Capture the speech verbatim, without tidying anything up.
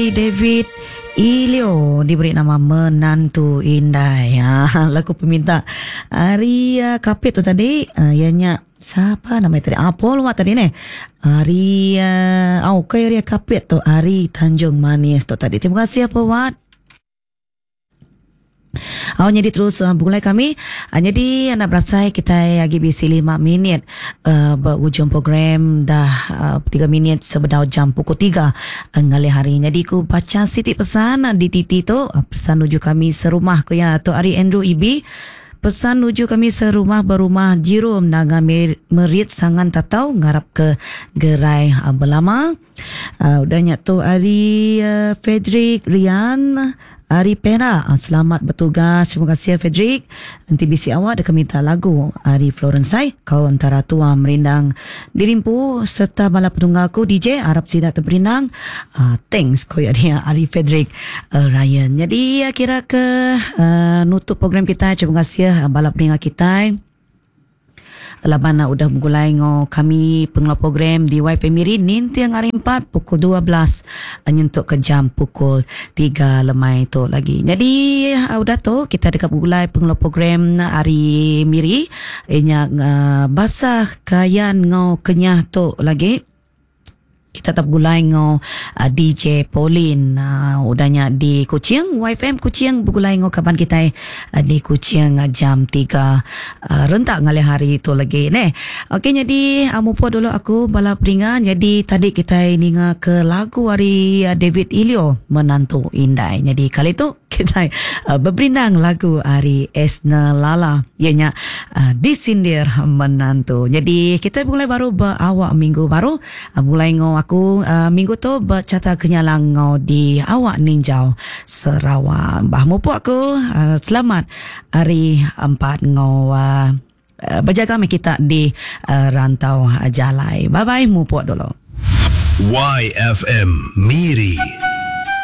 David Ilio diberi nama Menantu Indai. Ha, lagu peminta ari uh, Kapit tu tadi, uh, ianya siapa nama tadi? Ah, Paul Wat tadi ni. Ari uh, oh, okay, ari Kapit tu, ari Tanjung Manis tu tadi. Terima kasih Paul Wat. Oh, jadi terus uh, begulai kami. Uh, jadi anak berasai kita lagi bisi lima minit uh, berujung program dah uh, tiga minit sebedau jam pukul tiga uh, ngalih hari. Jadi ku baca siti pesan uh, di titi tu, uh, pesan nuju kami serumah ku ya tu ari Andrew Ibi. Pesan nuju kami serumah berumah Jirum Naga Merit Sangan Tatau ngarap ke gerai uh, belama. Uh, udahnya tu ari uh, Frederick Rian Ari Perak. Selamat bertugas. Terima kasih Frederick. Nanti bisi awak dia minta lagu Ari Florence Sai. Kau antara tua merindang dirimpu serta bala penunggal aku D J Arab Sidak terperindang. Uh, thanks ko ya dia Ari Frederick uh, Ryan. Jadi kira ke uh, nutup program kita. Terima kasih bala pendengar kita. Laban udah begulai ngo kami pengelola program di Y F M Miri nintiang hari empat pukul dua belas nyentuk ke jam pukul tiga lemai tu lagi. Jadi udah tu kita dekat begulai pengelola program hari Miri inya uh, basah kayan ngo kenyah tu lagi. Kita tetap gulai ngo uh, D J Pauline uh, udahnya di Kuching Y F M Kuching begulai ngo kaban kita uh, di Kuching uh, jam tiga uh, rentak ngalih hari itu lagi ne. Okey, jadi uh, mupo dulu aku bala peringan. Jadi tadi kita ninga ke lagu hari uh, David Ilio Menantu Indai. Jadi kali tu kita uh, berberindang lagu hari Esna Lala ianya uh, disindir menantu. Jadi kita mulai baru berawak minggu baru uh, mulai ngo aku uh, minggu tu bercata kenyalang ngau di awak ninjau Sarawak. Bah mupuk aku uh, selamat hari empat ngau uh, uh, berjaga kita di uh, rantau uh, jalai. Bye bye mupuk dulu. Y F M Miri.